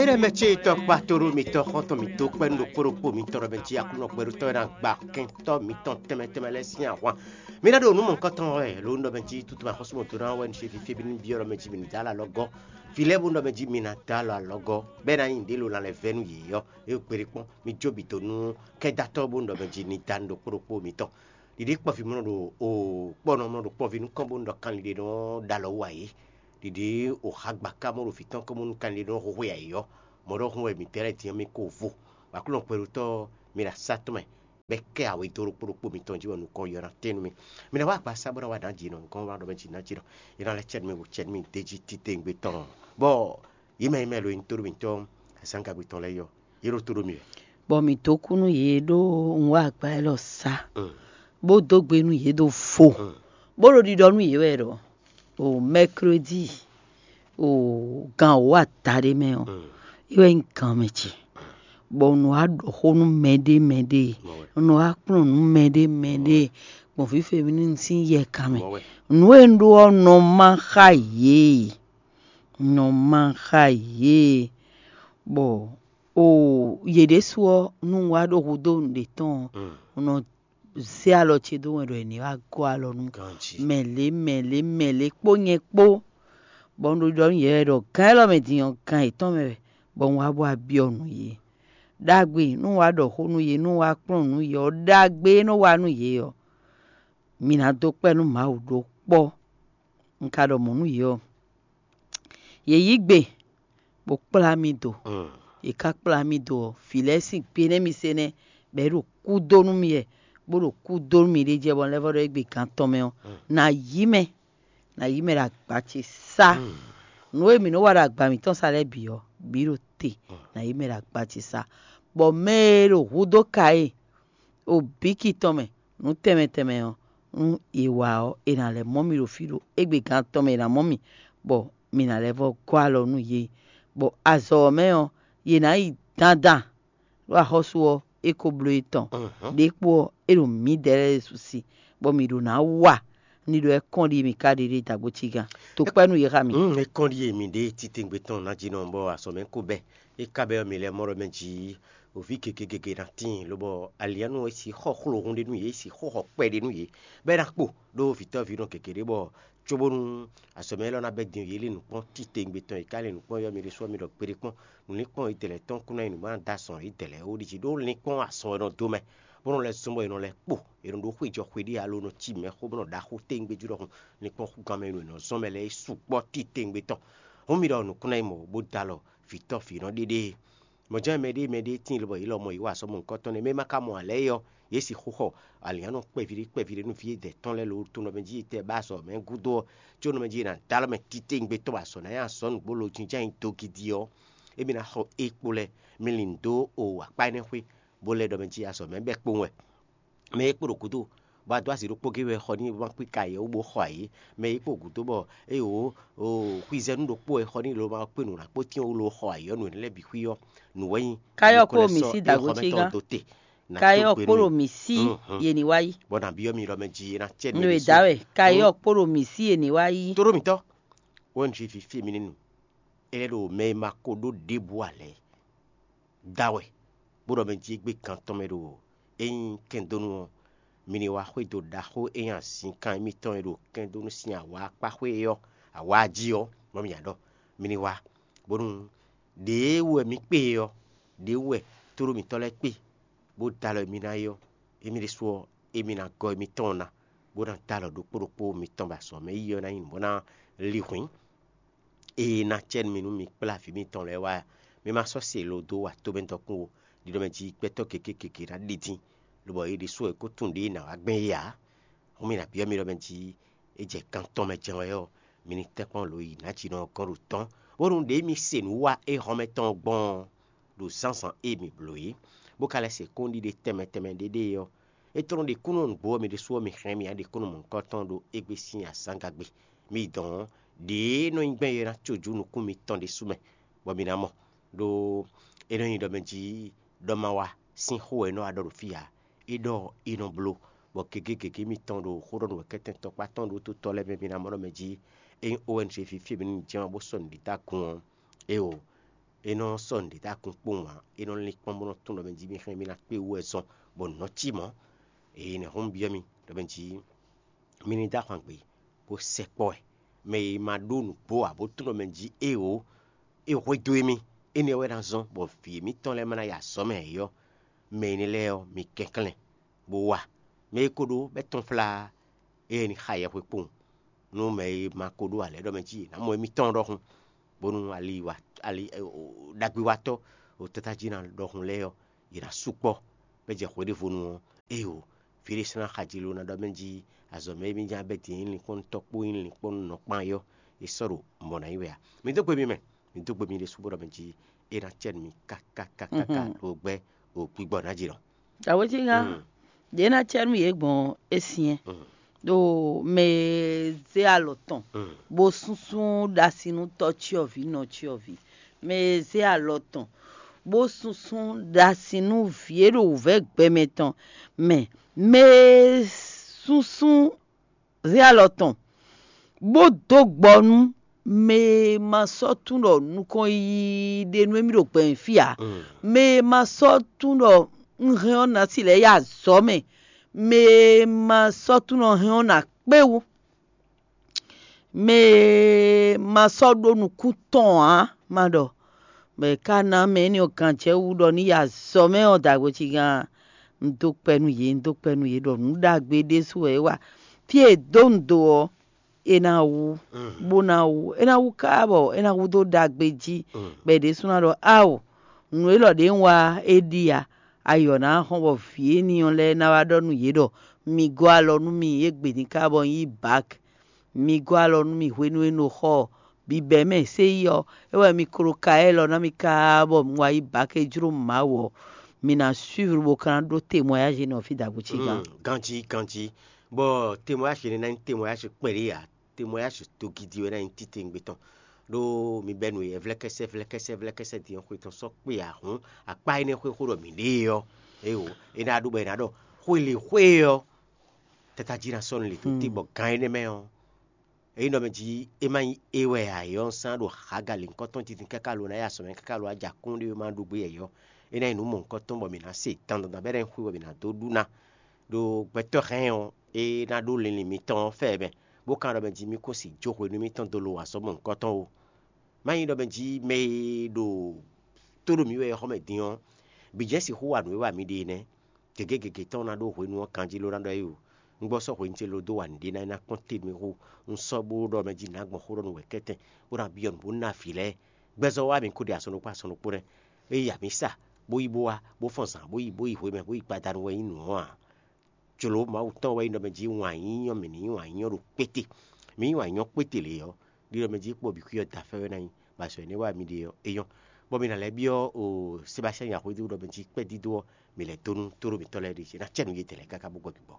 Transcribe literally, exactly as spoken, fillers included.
Mɛ ce tɔkpa to ɖo mitɔn xɔntɔn mǐtɔn kpɛ́nú ɖokpó ɖokpó mitɔn ɖɔ mɛ jí Aklúnɔ gbɛɖótɔ́ e ná gba kɛntɔ́ mitɔn tɛnmɛ tɛnmɛ lɛ́ɛ sín ahwan. Mi ná ɖo nǔ mɔ̌hunkɔtɔn wɛ lǒ nɔ mɛ jí tútú ma xɔ́sú mɔ̌to ná wɛ un se fífí bí ní byɔ́ ɖɔ mɛ jí mi ní dó alɔ alɔgɔ́. Fí lɛ́ɛ bó nɔ mɛ jí mi ná dó alɔ alɔgɔ́, bɔ é ná nyí nǔɖé lo lan lɛ́ vɛ́ nú yě ɔ́, é kpéɖé kpɔ́n. Mi jó bǐ dó nú kɛ́datɔ́ bó nɔ mɛ jí ní dó anú ɖokpó ɖokpó mitɔn. Ɖiɖi kpɔ́ví mɔ ɖo o kpɔ́nɔ mɔ ɖo kpɔ́ví nukɔn bó nɔ ɖɔ kanlin ɖé nɔ ɖo alɔ wú ayǐ. Ɖiɖi o xagba ka mɔ ɖo vǐ tɔn kɔn bó nú kanlin ɖé nɔ hwehwe ayǐ ɔ́, mɔ̌ ɖɔhun wɛ mǐ tɛ́ lɛ́ din ɔ́ mì ko vo. Aklúnɔ kpɛɖótɔ́ ɔ́, mi ɖo asá tɔn mɛ, bɔ é kɛ awě dó ɖokpó ɖokpó mitɔn jí bɔ nukɔn yɔ ná tɛ́n nú mi. Mi ná wá agbaza bó ná wá nǎ jǐ nɔ, nukɔn wá ɖɔ mɛ jǐ ná jǐ nɔ. È nɔ lɛ́ cɛ nú mi bó cɛ nú mi d'é jí titewungbe tɔn. Bɔ yě mɛ yě mɛ lo nyí tóɖó mǐtɔn azǎngagbe tɔn lɛ́ɛ yɔ, yě ɖo tó ɖó mi wɛ. Bɔ mǐ dó kú nú yě ɖó un wá agba élɔ́ sá, bó dó gbe nú yě ɖo vo, bó ɖo ɖiɖɔ nú yě wɛ ɖɔ o mɛklódi o gan wǒ adaɖé mɛ ɔ́, é wɛ nyí gan mɛ ce, bɔ un nɔ wá ɖɔ xó nú mɛɖé mɛɖé, un nɔ wá kplɔ́n nǔ mɛɖé mɛɖé gbɔn fífɛ́ mi nú un sín yɛ kan mɛ. Nǔ e un ɖó ɔ́ nɔ má xá yě, nɔ má xá yě, bɔ o yě ɖésú ɔ́, nú un wá ɖo hudó nǔɖé tɔn ɔ́, un nɔ zé alɔ ce dó wɛn ɖɔ è ní wá gɔ́ alɔ nú mɛ lě mɛ lě mɛ lě kpó nyɛ kpó, bɔ un ɖo ɖɔ nú yě wɛ ɖɔ gǎn élɔ́ mɛ din ɔ́, gǎn yětɔn mɛ wɛ, bɔ un wá bó wá byɔ́ nǔ yě. Ɖagbe nú un wá ɖɔ xó nú yě, nú un wá kplɔ́n nǔ yě ɔ́, ɖagbe e nɔ wa nú yě ɔ́, mi ná dó kpɛ́ nú Mawu ɖó kpɔ́. Un ka ɖɔ mɔ̌ nú yě ɔ́, yě yí gbe, bó kplá mì do. Yě ká kplá mì do ɔ́, vǐ lɛ́ɛ sín gbe nɛ́ mi se nɛ́, bɔ é ɖo kú dó nú mì wɛ, bó ɖo kú dó nú mì ɖ'é jɛ bɔ un lɛ́ vɔ́ ɖɔ égbé gǎn tɔn mɛ ɔ́, nǎ yí mɛ, nǎ yí mɛ ɖo agba ce sá. Nǔ e mǐ nɔ́ wa ɖo agba mǐtɔn sá lɛ́ɛ bǐ ɔ́, bǐ ɖo te, nǎ yí mɛ ɖo agba ce sá. Bɔ mɛ e ɖo hudó ka e ɖo bǐki tɔn mɛ, nǔ tɛnmɛ tɛnmɛ ɔ́, nú è wa ɔ́, è nǎ lɛ́ mɔ mì ɖo fí ɖo égbé gán tɔn mɛ è nǎ mɔ mì, bɔ mì nǎ lɛ́ vɔ́ gɔ́ alɔ nú yě. Bɔ azɔ̌ ɔ́ mɛ ɔ́, yě ná yi dandan ɖó axɔ́sú ɔ́, é ko bló yě tɔn. Ɖěkpo ɔ́, é ɖo mǐdɛɛ lɛ́ɛ su si, bɔ mǐ ɖo ná wa ní ɖɔ é kɔn ɖi mǐ ka ɖe ɖe dǎgbó cígán. To kpɛ́ nú yě xá mì. Mm, é kɔn ɖi mǐ ɖe titewungbe tɔn ná jí nɔ, bɔ azɔ̌ mɛ ko bɛ́. É ka bɛ́ ɔ́, mǐ lɛ́ mɔ ɖɔ mɛ jí òví gěgé gěgé ná tíin, lobɔ aliǎnu e sixɔ xlohun ɖé nú yě, sixɔ xɔ kpɛ ɖé nú yě, bɔ é ná kpo ɖó vǐtɔ́ví nɔ gěgé ɖé, bɔ cóbónú azɔ̌ mɛ élɔ́ ná bɛ́ din yě lin nǔkpɔ́n titewungbe tɔn, yě ká lin nǔkpɔ́n yɔ mì ɖésú ɔ́, mi ɖɔ kpeɖé kpɔ́n. Nǔlinkpɔ́n yědɛɛ lɛ́ɛ tɔn kún ná nyí nǔ bó ná dó azɔn yědɛɛ lɛ́ɛ ó ɖi jí, ɖó linkpɔ́n azɔn wɛ nɔ dó mɛ, bó nɔ lɛ́ zɔ́n bɔ è nɔ lɛ́ kpo, è nɔ ɖó xwéjɔ xwéɖí alo nɔ cí mɛxó bó nɔ ɖo axó tewungbe jí ɖɔhun. Linkpɔ́ gán mɛ e nɔ è nɔ zɔ́n mɛ lɛ́ɛ é sukpɔ́ titewungbe tɔn. Hǔn mi ɖɔ nǔkún ná nyí mɔ̌ bó dó alɔ vǐtɔ́ vǐnɔ ɖéɖée. Mɔ̌ jɛ́n mɛɖée mɛɖée tíin lobɔ yě lɔmɔ̌ yí wa azɔ̌ mɔ̌hunkɔtɔn nɛ́, mɛ e ma ka mɔ ǎ lɛ́ɛ é ɔ́, yě sixú xɔ alǐnnyánɔ kpɛví ɖé kpɛví ɖé nú vǐ e dɛ tɔn lɛ́ɛ lo tunɔ mɛ jí yi tɛ bá azɔ̌ mɛ gúdo ɔ́, có nɔ mɛ jí è nǎ dó alɔ mɛ titewungbe tɔn bɔ azɔ̌ ná nyí azɔ̌ nǔgbó lo jínjɔ́n nyi dó gidi ɔ́, émí ná xɔ é kpo lɛ́ɛ, mi lin dó o akpá énɛ́ xwé, bó lɛ́ ɖɔ mɛ jí azɔ̌ mɛ bɛ́ kpowun wɛ. Mɛ e kpo ɖo gǔdo bɔ a dó azǐ ɖokpó gé wɛ xɔ n'i bó ma kpé ka yě wú bó xɔ ayǐ. Mɛ e kpo gǔdo bɔ eye wǒ xwizɛ́nu ɖokpó wɛ xɔ n'i ló ma kpé nǔ ná kpó tín wú ló xɔ ayǐ ɔ́, nǔ énɛ́ lɛ́ɛ bǐ xwí ɔ́, nǔ wɛ nyí. Káyɔ́ kpó mǐ sí dǎgbo cí gán. Káyɔ́ kpó ɖo mǐ sí yě ní wá yí. Bɔ nǎ byɔ́ mi ɖɔ mɛ jí é ná cɛ nú Nú è dǎ wɛ káyɔ́ kpó ɖo mǐ sí yě ní wá yí. Tóɖó mǐtɔn, wɛn jí fífí mi ní nu. É lɛ́ ɖo mɛ e ma ko ɖó ɖěbǔ ǎ lɛ́ɛ da wɛ, bó ɖɔ mɛ jí égbé gán tɔn mɛ ɖo é nyí kɛndónú ɔ́, mi ní wá xwedó ɖaxó e nyí azǐnkan émítɔn e ɖo kɛndónú sín awǎ akpá xwé é ɔ́, awǎ jí ɔ́, bɔ mi nya ɖɔ mi ní wá, bónú ɖěe wú wɛ mi kpé é ɔ́, ɖě wú wɛ tóɖó mǐtɔn lɛ́ɛ kpé, bó dó alɔ e mi ná é ɔ́, émí ɖésú ɔ́, émí ná gɔ́ émítɔn ná, bó ná dó alɔ ɖokpó ɖokpó mitɔn ba sɔ mɛ yí ɔ́ ná nyí nǔ bó ná li hwǐn. Ée ná cɛ nú mi nú mi kplá vǐ mitɔn lɛ́ɛ wá, mi ma sɔ́ se lo dó wa tomɛ dɔkun ó, ɖiɖɔ mɛ jí gbɛtɔ́ gěgé gěgé ná ɖi dín, lobɔ é ɖésú è ko tunwun ɖě ná wá gbɛn é ǎ. Hǔn mi ná byɔ́ mi ɖɔ mɛ jí é jɛ kan tɔn mɛ jɛ́n wɛ ɔ́, mi ní tɛ́nkpɔ́n lǒ yi nǎ jí nɔ gɔ́n ɖo tɔ́n, bónú ɖě mi se nǔ wa éhɔ́nmɛ tɔn ɔ́ gbɔn ɔ́, ɖo zǎnzǎn e mi blǒ é, bó ka lɛ́ se kpɔ́n ɖiɖe tɛnmɛ tɛnmɛ ɖé ɖée ɔ́, é tlɔ́n ɖe kúnnu nǔgbó ɔ́ mi ɖésú ɔ́ mi hɛn mì ǎ ɖe kúnnu mɔ̌hunkɔtɔn ɖo égbé sín azǎngagbe. Mi dɔn ɔ́, ɖěe nɔ nyí gbɛn e ná cojú nukún mitɔn ɖésú mɛ, bɔ mi ná mɔ, ɖó é nɔ nyí ɖɔ mɛ jí ɖɔ ma wa sín xó wɛ é nɔ wá ɖɔ ɖo fí ǎ. É ɖɔ é nɔ bló, bɔ gěgé gěgé mitɔn ɖo xó ɖɔ nú wɛ̌kɛ́tɛ́ntɔ́kpá tɔn ɖó tó tɔ́ lɛ́ɛ mɛ mi ná mɔ ɖɔ mɛ jí é nyí O N G fí fí e mi ní jɛ́n ɔ́ bó sɔ́ nǔɖiɖa gun ɔ́, éeǒ. é nɔ sɔ́ nǔɖé dó akun kpowun ǎ. É nɔ lín kpɔ́n bó nɔ tunwun ɖɔ mɛ jí mì xlɛ́ mì ná kpé wú wɛ zɔn bɔ nǔ nɔ cí mɔ̌. Eye nɛ̌ hɔn un byɔ́ mi ɖɔ mɛ jí mi ní dó ahwan gbe bó sɛkpɔ́ wɛ. Mɛ e ma ɖó nǔgbó ǎ bó tunwun ɖɔ mɛ jí éeǒ, é hwedó émí, énɛ́ wɛ ná zɔ́n bɔ vǐ émítɔn lɛ́ɛ ma ná yi azɔ̌ mɛ ǎ é ɔ́, mɛ énɛ́ lɛ́ɛ ɔ́, mi kɛnklɛ́n bó wa. Mɛ e ko ɖó bɛ́ tɔ́nflá ée ní xa yɛhwe kpowun nú mɛ e ma ko ɖó alɛ̌ ɖɔ mɛ jí è nǎ mɔ émítɔn ɖɔhun, bónú ali wa ali ɖagbewatɔ́ ɖo tátájí ná ɖɔhun lɛ́ɛ ɔ́, yě ná sukpɔ́ bɔ é jɛ hweɖěvonu ɔ́, éeǒ, vǐ ɖé sɔ́ ná xaji lo ná ɖɔ mɛ jí azɔ̌ mɛ e mì ján bɛ́ din é nyí linkpɔ́nnutɔ́ kpó é nyí linkpɔ́nnunɔ kpán é ɔ́, é sɔ́ ɖo mɔ̌ ná nyí wɛ ǎ. Mi dó gbe mi mɛ, mi dó gbe mi ɖésú bó ɖɔ mɛ jí é ná cɛ nú mi káká káká ɖo gbɛ́ ɖo gbígbɔ ná jí nɔ. Awéjínga, ɖě ná cɛ nú yě gbɔn é syɛ́n ɖo mɛ e zé alɔ tɔn bó súnsún ɖasinútɔ́ cyɔ́vǐ nɔ cyɔ́vǐ, mɛ e zé alɔ tɔn bó súnsún ɖasin nú vǐ e ɖo wǔvɛ́ gbɛmɛ tɔn mɛ, mɛ e súnsún zé alɔ tɔn bó dó gbɔ nú mɛ e ma sɔ́ tunwun ɖɔ nukɔn yiyi ɖe nú émí ɖo gbɛ̌n fí ǎ, mɛ e ma sɔ́ tunwun ɖɔ un hɛn ɔ́ ná si lɛ́ yi azɔ̌ mɛ, mɛ e ma sɔ́ tunwun ɖɔ hɛn ɔ́ ná kpé wú, mɛ e ma sɔ́ ɖó nukún tɔn ǎ, ma ɖɔ bɔ è ka ná mɛ énɛ́ ɔ́ ganjɛ́ wú ɖɔ ní yi azɔ̌ mɛ ɔ́ dǎgbé cígán. Un dó kpɛ nú yě, un dó kpɛ nú yě ɖɔ nǔ ɖagbe ɖésú wɛ é wa. Fí e è dǒ un do ɔ́, é ná wú, bó ná wú, é ná wú káká bɔ é ná wú dó ɖagbe jí, bɔ è ɖésú ná ɖɔ áwǒ, nǔ élɔ́ ɖě un wa é ɖi a, ayɔ ná hɔn bɔ vǐ énɛ́ ɔ́ lɛ́ɛ ná wá ɖɔ nú yě ɖɔ mi gɔ́ alɔ nú mì égbé din káká bɔ un yí bǎk. Mi gɔ́ alɔ nú mì hwenu e un ɖo xɔ bǐbɛ́ mɛ sé yi ɔ́, é wɛ mi klo ka élɔ́ ná mì káá bɔ un wá yi bǎ ké jló Mawu ɔ́, mi ná suivre bó ka ná ɖó témoignage nɔ fí dǎgbó cígán. Ganjí ganjí, bɔ témoignage énɛ́ ná nyí témoignage kpɛɖé ǎ, témoignage togidi wɛ ná nyí titewungbe tɔn. Ɖó mi bɛ́ nǔ e vlɛ́kɛ́sɛ́ vlɛ́kɛ́sɛ́ vlɛ́kɛ́sɛ́ din ɔ́ xwe tɔn sɔ́ kpé ǎ hǔn, akpá énɛ́ xwé xó ɖɔ mǐ ɖe é ɔ́, éeǒ, é ná ɖó bɔ è nǎ ɖɔ xwe lě xwé ɔ́, tata jí ná sɔ́ nú lě tó te bɔ gan énɛ́ mɛ ɔ́, é nyí ɖɔ mɛ jí é má nyí é wɛ ǎ, é ɔ́ sán ɖo Hagali nukɔn tɔn titun káká lo ná yi azɔ̌ mɛ káká lo ná ja kún ɖé má ɖu gbé yɛ̌yɔ́. É ná nyí nǔ mɔ̌hunkɔtɔn bɔ mǐ ná se dandandan bɔ é ná nyí xwé bɔ mǐ ná dó ɖu ná. Ɖo gbɛtɔ́ hɛn ɔ́, é ná ɖó linlin mitɔn ɔ́ fɛ mɛ, bó ka ɖɔ mɛ jí mì kún si jó hwenu mitɔn dó lo azɔ̌ mɔ̌hunkɔtɔn ó. Má nyí ɖɔ mɛ jí mɛ e ɖo tó ɖo mǐ wɛ é xɔ mɛ din ɔ́, bǐ jɛ́n sixú wa nǔ e wa mǐ ɖe é nɛ́. Gěgé gěgé tɔn ná ɖó hwenu ɔ́ kanjí ló ná ɖɔ é o. Un gbɔ sɔ́ hwenu ce lo dó wa nǔɖé ná é ná kpɔ́n te mì xo. Un sɔ́ bó ɖɔ mɛ jí nǎ gbɔn xó ɖɔ nú wɛ̌kɛ́tɛn, bó ná byɔ́ nǔ bó ná vǐ lɛ́ɛ. Gbɛzɔ́ wá mǐ kó ɖe asɔn ɖokpó asɔn ɖokpó nɛ́. Ée amǐ sa, bó yi bó wá, bó fɔn zǎn, bó yi bó yi hwemɛ, bó yi gbadanu wɛ nyí nǔ ɔ́ ǎ. Jlǒ Mawu tɔn wɛ nyí ɖɔ mɛ jí wǎn yíyɔ́ mǐ ní yí wǎn yíyɔ́ ɖo kpéte. Mǐ yí wǎn yíyɔ́ kpéte lě ɔ́, ɖiɖɔ mɛ jí kpɔ́ bǐ xwí ɔ́ da fɛ́ wɛ ná nyí, bɔ azɔ̌ énɛ́ wá mi ɖe ɔ́, é nyɔ́. Bɔ mi ná lɛ́ byɔ́ o Sebastian nyaxwédó ɖɔ mɛ jí kpɛ́ dídó ɔ́, mi lɛ́ dó nú tóɖó mǐtɔn lɛ́ɛ ɖe jí ná cɛ nú yětɛn lɛ́ɛ káká bó gbɔ bǐ gbɔ.